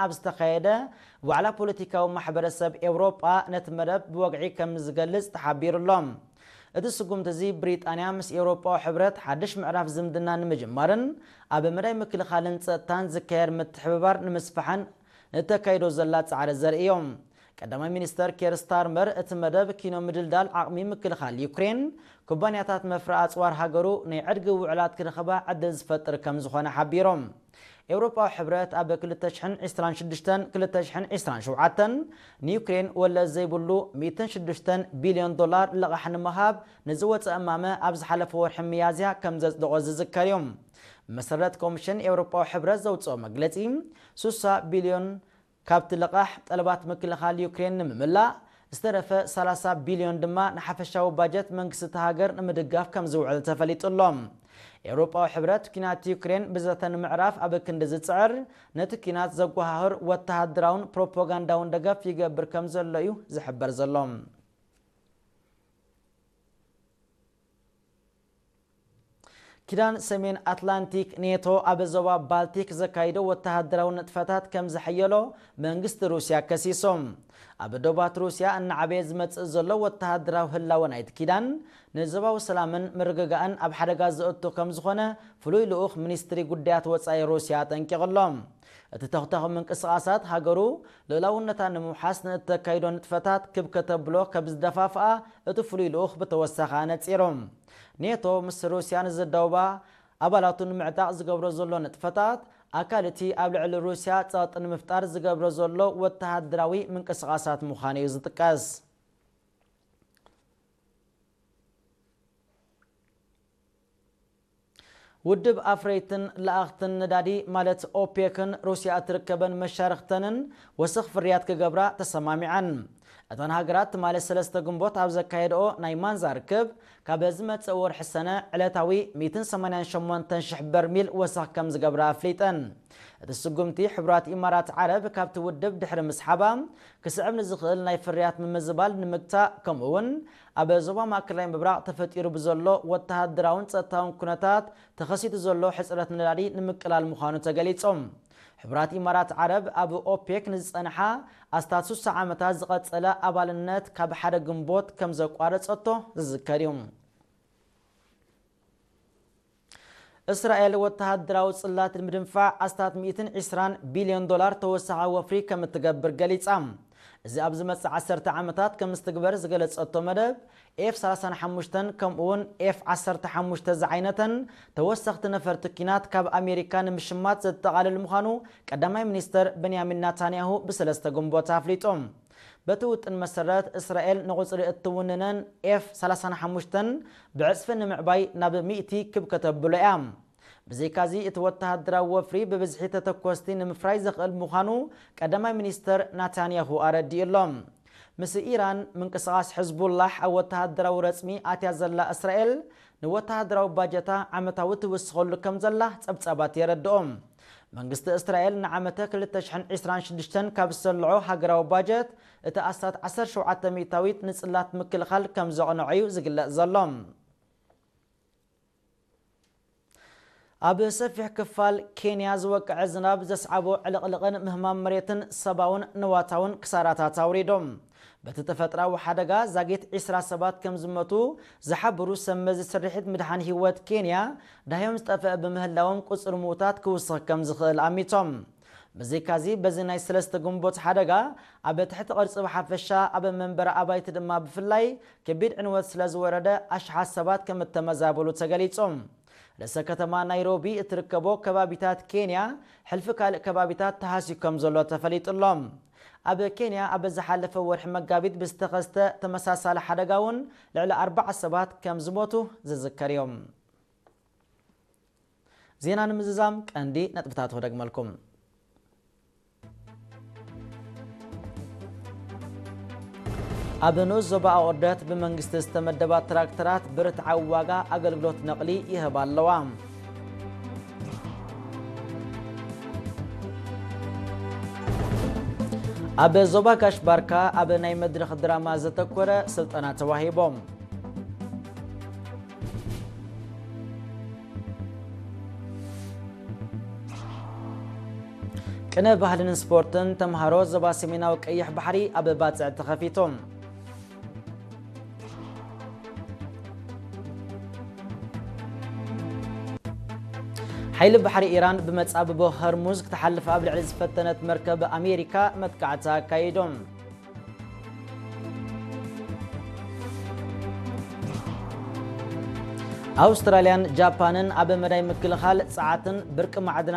ኣብ ዝተኻየደ ዋዕላ ፖለቲካዊ ማሕበረሰብ ኤውሮጳ ነቲ መደብ ብወግዒ ከም ዝገልጽ ተሓቢሩ ኣሎ። እቲ ስጉምቲ እዚ ብሪጣንያ ምስ ኤውሮጳዊ ሕብረት ሓድሽ ምዕራፍ ዝምድና ንምጅማርን ኣብ መዳይ ምክልኻልን ጸጥታን ዝካየድ ምትሕብባር ንምስፋሕን እተካይዶ ዘላ ጻዕሪ ዘርኢ እዩ። ቀዳማይ ሚኒስተር ኬር ስታርመር እቲ መደብ ኪኖ ምድልዳል ዓቕሚ ምክልኻል ዩክሬን፣ ኩባንያታት መፍረ ኣጽዋር ሃገሩ ናይ ዕድጊ ውዕላት ክረኽባ ዕድል ዝፈጥር ከም ዝኾነ ሓቢሮም። ኤውሮጳዊ ሕብረት ኣብ ክልተ ሽሕን ዕስራን ሽዱሽተን ክልተ ሽሕን ዕስራን ሸውዓተን ንዩክሬን ወለድ ዘይብሉ ሚእትን ሽዱሽተን ቢልዮን ዶላር ልቓሕ ንምሃብ ንዝወፀ እማመ ኣብ ዝሓለፈ ወርሒ ሚያዝያ ከም ዘጽደቖ ዝዝከር እዩ። መሰረት ኮሚሽን ኤውሮጳዊ ሕብረት ዘውፅኦ መግለፂ፣ ሱሳ ቢልዮን ካብቲ ልቓሕ ጠለባት ምክልኻል ዩክሬን ንምምላእ ዝተረፈ ሰላሳ ቢልዮን ድማ ንሓፈሻዊ ባጀት መንግስቲ እታ ሃገር ንምድጋፍ ከም ዝውዕል ተፈሊጡ ኣሎ። ኤውሮጳዊ ሕብረት ኲናት ዩክሬን ብዘተ ንምዕራፍ ኣብ ክንዲ ዝጽዕር፣ ነቲ ኲናት ዘጓሃህር ወተሃደራውን ፕሮፓጋንዳውን ደገፍ ይገብር ከም ዘሎ እዩ ዝሕበር ዘሎ። ኪዳን ሰሜን ኣትላንቲክ ኔቶ ኣብ ዞባ ባልቲክ ዘካይዶ ወተሃደራዊ ንጥፈታት ከም ዘሐየሎ መንግስቲ ሩስያ ከሲሱ። ኣብ ዶባት ሩስያ እናዓበየ ዝመጽእ ዘሎ ወተሃደራዊ ህላወ ናይቲ ኪዳን ንዞባዊ ሰላምን ምርግጋእን ኣብ ሓደጋ ዘእቱ ከም ዝኾነ ፍሉይ ልኡኽ ሚኒስትሪ ጉዳያት ወጻኢ ሩስያ ኣጠንቂቑ ኣሎ። እቲ ተኹተኹ ምንቅስቓሳት ሃገሩ ልኡላውነታ ንምውሓስ ንእተካይዶ ንጥፈታት ክብ ከተብሎ ከም ዝደፋፍኣ እቲ ፍሉይ ልኡኽ ብተወሳኺ ኣነጺሩ። ኔቶ ምስ ሩስያ ንዝዳወባ ኣባላቱ ንምዕጣቕ ዝገብሮ ዘሎ ንጥፈታት ኣካል እቲ ኣብ ልዕሊ ሩስያ ጸቕጢ ንምፍጣር ዝገብሮ ዘሎ ወተሃደራዊ ምንቅስቓሳት ምዃኑ እዩ ዝጥቀስ። ውድብ ኣፍረይትን ለኣኽትን ነዳዲ ማለት ኦፔክን ሩስያ እትርከበን መሻርኽተንን ወሰኽ ፍርያት ክገብራ ተሰማሚዐን። እተን ሃገራት ትማሊ ሰለስተ ግንቦት ኣብ ዘካየድኦ ናይ ማንዛ ርክብ፣ ካብ ዝመጽእ ወርሒ ሰነ ዕለታዊ ሚእትን ሰማንያን ሸሞንተን ሽሕ በርሚል ወሰኽ ከም ዝገብራ ኣፍሊጠን። እቲ ስጉምቲ ሕቡራት ኢማራት ዓረብ ካብቲ ውድብ ድሕሪ ምስሓባ ክስዕብ ንዝኽእል ናይ ፍርያት ምምዝባል ንምግታእ፣ ከምኡ እውን ኣብ ዞባ ማእከላይ ምብራቕ ተፈጢሩ ብዘሎ ወተሃደራውን ጸጥታውን ኩነታት ተኸሲቱ ዘሎ ሕጽረት ነዳዲ ንምቅላል ምዃኑ ተገሊጹ። ሕቡራት ኢማራት ዓረብ ኣብ ኦፔክ ንዝጸንሓ ኣስታት ስሳ ዓመታት ዝቐጸለ ኣባልነት ካብ ሓደ ግንቦት ከም ዘቋረጸቶ ዝዝከር እዩ። እስራኤል ወተሃደራዊ ጽላት ንምድንፋዕ ኣስታት ሚእትን ዕስራን ቢልዮን ዶላር ተወሳኺ ወፍሪ ከም እትገብር ገሊጻ። እዚ ኣብ ዝመጽእ ዓሰርተ ዓመታት ከም ዝትግበር ዝገለጸቶ መደብ፣ ኤፍ ሰላሳን ሓሙሽተን ከምኡውን ኤፍ ዓሰርተ ሓሙሽተ ዝዓይነተን ተወሰኽቲ ነፈርቲ ኲናት ካብ ኣሜሪካ ንምሽማት ዘጠቓልል ምዃኑ ቀዳማይ ሚኒስተር በንያሚን ናታንያሁ ብሰለስተ ግንቦት ኣፍሊጡ። በቲ ውጥን መሰረት፣ እስራኤል ንቑጽሪ እትውንነን ኤፍ ሰላሳን ሓሙሽተን ብዕጽፊ ንምዕባይ ናብ ሚእቲ ክብ ከተብሎ እያ። ብዘይካዚ፣ እቲ ወተሃደራዊ ወፍሪ ብብዝሒ ተተኮስቲ ንምፍራይ ዘኽእል ምዃኑ ቀዳማይ ሚኒስተር ናታንያሁ ኣረዲኡ ኣሎ። ምስ ኢራን፣ ምንቅስቓስ ሕዝቡላሕ ኣብ ወተሃደራዊ ረጽሚ ኣትያ ዘላ እስራኤል፣ ንወተሃደራዊ ባጀታ ዓመታዊ ትውስኸሉ ከም ዘላ ጸብጻባት የረድኦ። መንግስቲ እስራኤል ንዓመተ ክልተ ሽሕን ዕስራን ሽዱሽተን ካብ ዝሰልዖ ሃገራዊ ባጀት፣ እቲ ኣስታት ዓሰርተ ሸውዓተ ሚእታዊት ንጽላት ምክልኻል ከም ዘቕንዖ እዩ ዝግለጽ ዘሎ። ኣብ ሰፊሕ ክፋል ኬንያ ዝወቅዐ ዝናብ ዘስዓቦ ዕልቕልቕን ምህማም መሬትን ሰብኣውን ንዋታውን ክሳራታት ኣውሪዶም። በቲ ተፈጥራዊ ሓደጋ ዛጊት ዕስራ ሰባት ከም ዝመቱ ዝሓብሩ ሰብ መዚ ስርሒት ምድሓን ህይወት ኬንያ፣ ዳህዮም ዝጠፍአ ብምህላዎም ቁጽሪ ምዉታት ክውስኽ ከም ዝኽእል ኣሚቶም። ብዘይካዚ፣ በዚ ናይ ሰለስተ ግንቦት ሓደጋ ኣብ ትሕቲ ቅርጺ ብሓፈሻ፣ ኣብ መንበሪ ኣባይቲ ድማ ብፍላይ ከቢድ ዕንወት ስለ ዝወረደ፣ ኣሽሓት ሰባት ከም እተመዛበሉ ተገሊጹ። ርእሰ ከተማ ናይሮቢ እትርከቦ ከባቢታት ኬንያ፣ ሕልፊ ካልእ ከባቢታት ተሃስዩ ከም ዘሎ ተፈሊጡ ኣሎ። ኣብ ኬንያ ኣብ ዝሓለፈ ወርሒ መጋቢት ብዝተኸስተ ተመሳሳሊ ሓደጋ እውን ልዕሊ ኣርባዓ ሰባት ከም ዝሞቱ ዝዝከር እዩ። ዜና ንምዝዛም ቀንዲ ነጥብታት ክደግመልኩም። ኣብ ንኡስ ዞባ ኣቑርደት ብመንግስቲ ዝተመደባ ትራክተራት ብርትዓዊ ዋጋ ኣገልግሎት ነቕሊ ይህባ ኣለዋ። ኣብ ዞባ ጋሽ ባርካ ኣብ ናይ መድረኽ ድራማ ዘተኮረ ስልጠና ተዋሂቦም። ቅነ ባህልን ስፖርትን። ተምሃሮ ዞባ ሰሜናዊ ቀይሕ ባሕሪ ኣብ ባጽዕ ተኸፊቱ። ሓይሊ ባሕሪ ኢራን ብመጻብቦ ሆርሙዝ ክትሓልፍ ኣብ ልዕሊ ዝፈተነት መርከብ ኣሜሪካ መጥቃዕቲ ኣካይዶም። ኣውስትራልያን ጃፓንን ኣብ መዳይ ምክልኻል ጸዓትን ብርቂ ማዕድናትን